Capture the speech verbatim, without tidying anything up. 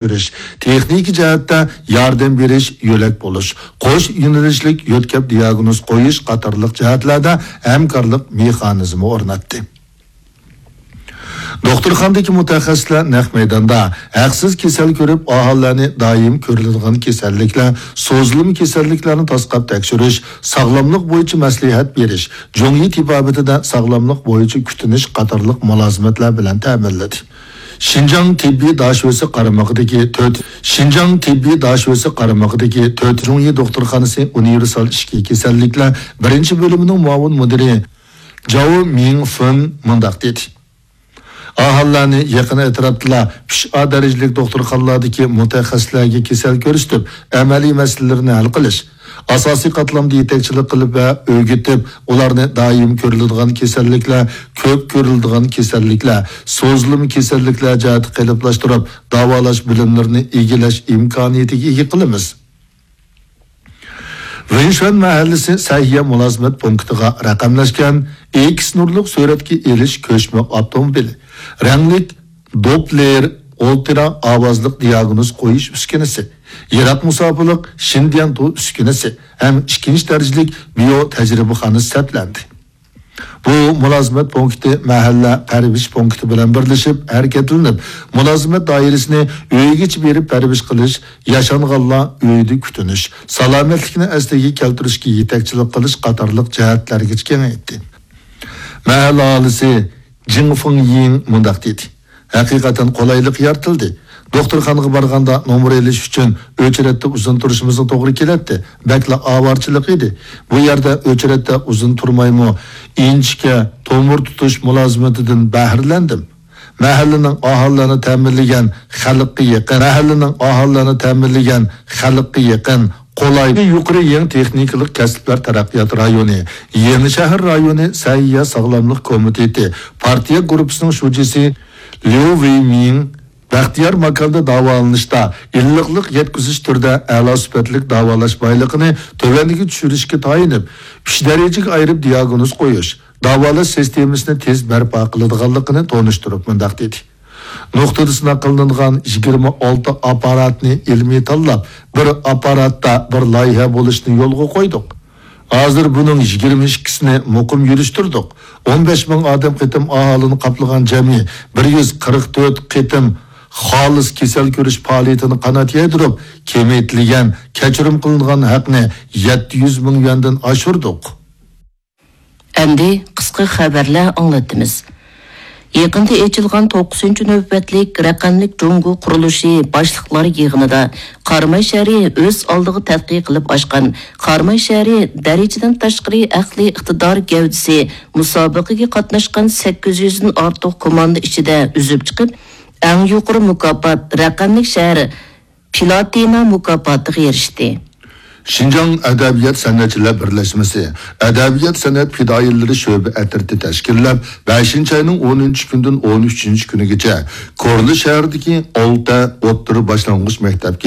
بېرىش، تېخنىكا جەھەتتە ياردەم بېرىش، يۆلەك بولۇش، قوش يۆنىلىشلىك يۆتكەپ دىياگنوز قويۇش قاتارلىق جەھەتلەردە ھەمكارلىق مېخانىزمى ئورناتتى. دوختۇرخانىدىكى مۇتەخەسسىسلەر نەق مەيداندا ھەقسىز كېسەل كۆرۈپ، ئاھالىلەرنى دائىم كۆرۈلىدىغان كېسەللىكلەر، سوزۇلما كېسەللىكلەرنى تاسقاپ تەكشۈرۈش، ساغلاملىق بويىچە مەسلىھەت بېرىش، جۇڭيى تېبابىتىدە ساغلاملىق بويىچە كۈتۈنۈش قاتارلىق مۇلازىمەتلەر بىلەن تەمىنلىدى. شىنجاڭ تېببىي داشۆسى قارمىقىدىكى تۆت، شىنجاڭ تېببىي داشۆسى قارمىقىدىكى تۆت جۇڭيى دوختۇرخانىسى ئۇنىۋېرسال ئىچكى كېسەللىكلەر بىرىنچى بۆلۈمىنىڭ مۇئاۋىن مۇدىرى جاۋ مىڭفېن مۇنداق دېدى: ئاھالىلەرنى يېقىن ئەتراپتىلا ئۈچ ئا دەرىجىلىك دوختۇرخانىلاردىكى مۇتەخەسسىسلەرگە كېسەل كۆرسىتىپ، ئەمەلىي مەسىلىلىرىنى ھەل قىلىش، ئاساسىي قاتلامدا يېتەكچىلىك قىلىپ ۋە ئۆگىتىپ، ئۇلارنى دائىم كۆرۈلىدىغان كېسەللىكلەر، كۆپ كۆرۈلىدىغان كېسەللىكلەر، سوزۇلما كېسەللىكلەر جەھەتتە قېلىپلاشتۇرۇپ، داۋالاش بىلىملىرىنى ئىگىلەش ئىمكانىيىتىگە ئىگە قىلىمىز. ۋېنشۈەن مەھەللىسى سەھىيە مۇلازىمەت پونكىتىغا رەقەملەشكەن ئېكس نۇرلۇق سۈرەتكە ئېلىش كۆچمە ئاپتوموبىلى، رەڭلىك دوپلېر ئولترا ئاۋازلىق دىياگنوز قويۇش ئۈسكۈنىسى، يىراق مۇساپىلىق شىنديەنتۇ ئۈسكۈنىسى ھەم ئىككىنچى دەرىجىلىك بىيو تەجرىبىخانىسى سەپلەندى. بۇ مۇلازىمەت پونكىتى مەھەللە پەرۋىش پونكىتى بىلەن بىرلىشىپ ھەرىكەتلىنىپ، مۇلازىمەت دائىرىسىنى ئۆيگىچە بېرىپ پەرۋىش قىلىش، ياشانغانلار ئۆيىدە كۈتۈنۈش، سالامەتلىكنى ئەسلىگە كەلتۈرۈشكە يېتەكچىلىك قىلىش قاتارلىق جەھەتلەرگىچە كېڭەيتتى. مەھەللە ئاھالىسى جىڭ فېڭيىڭ مۇنداق دېدى: ھەقىقەتەن قولايلىق يارىتىلدى. دوختۇرخانىغا بارغاندا نومۇر ئېلىش ئۈچۈن ئۆچرەتتە ئۇزۇن تۇرۇشىمىزغا توغرا كېلەتتى. بەكلا ئاۋارىچىلىق ئىدى. بۇ يەردە ئۆچرەتتە ئۇزۇن تۇرمايمۇ ئىنچىكە تومۇر تۇتۇش مۇلازىمىتىدىن بەھرىلەندىم. مەھەللىنىڭ ئاھالىلەرنى تەمىنلىگەن خەلققە يېقىن، مەھەللىنىڭ ئاھالىلەرنى تەمىنلىگەن خەلققە يېقىن، قولاي، يۇقىرى يېڭى تېخنىكىلىق كەسىپلەر تەرەققىيات رايونى، يېڭىشەھەر رايونى سەھىيە ساغلاملىق كومىتېتى پارتىيە گۇرۇپپىسىنىڭ شۇجىسى ليۇ ۋېيمىڭ بەختىيار ماكاندا داۋالىنىشتا ئىللىقلىق يەتكۈزۈش تۈرىدە ئەلا سۈپەتلىك داۋالاش بايلىقىنى تۆۋەنگە چۈشۈرۈشكە تايىنىپ، ئۈچ دەرىجىگە ئايرىپ دىياگنوز قويۇش، داۋالاش سىستېمىسىنى تېز بەرپا قىلىدىغانلىقىنى تونۇشتۇرۇپ مۇنداق دېدى: نۇقتىدا سىناق قىلىنغان يىگىرمە ئالتە ئاپپاراتنى ئىلمىي تاللاپ، بىر ئاپپاراتتا بىر لايىھە بولۇشنى يولغا قويدۇق. ھازىر بۇنىڭ يىگىرمە ئىككىسىنى مۇقىم يۈرۈشتۈردۇق. ئون بەش مىڭ ئادەم قېتىم ئاھالىنى قاپلىغان جەمئىي بىر يۈز قىرىق تۆت قېتىم خالىس كېسەل كۆرۈش پائالىيىتىنى قانات يايدۇرۇپ، كېمەيتىلگەن، كەچۈرۈم قىلىنغان ھەقنى يەتتە يۈز مىڭ يۈەندىن ئاشۇردۇق. ئەمدى قىسقا خەۋەرلەر ئاڭلىتىمىز. يېقىندا ئېچىلغان توققۇزىنچى نۆۋەتلىك رەقەملىك جۇڭگو قۇرۇلۇشى باشلىقلار يىغىنىدا قاراماي شەھىرى ئۆز ئالدىغا تەتقىق قىلىپ ئاچقان قاراماي شەھىرى دەرىجىدىن تاشقىرى ئەقلىي ئىقتىدار گەۋدىسى مۇسابىقىگە قاتناشقان سەككىز يۈزدىن ئارتۇق كوماندا ئىچىدە ئۈزۈپ چىقىپ، ئەڭ يۇقىرى مۇكاپات رەقەملىك شەھەر پلاتىنا مۇكاپاتىغا ئېرىشتى. شىنجاڭ ئەدەبىيات سەنئەتچىلەر بىرلەشمىسى ئەدەبىيات سەنئەت پىدائىيلىرى شۆبە ئەترىتى تەشكىللەپ، بەشىنچى ئاينىڭ ئونىنچى كۈنىدىن ئون ئۈچىنچى كۈنىگىچە كورلا شەھىرىدىكى ئالتە ئوتتۇرا باشلانغۇچ مەكتەپكە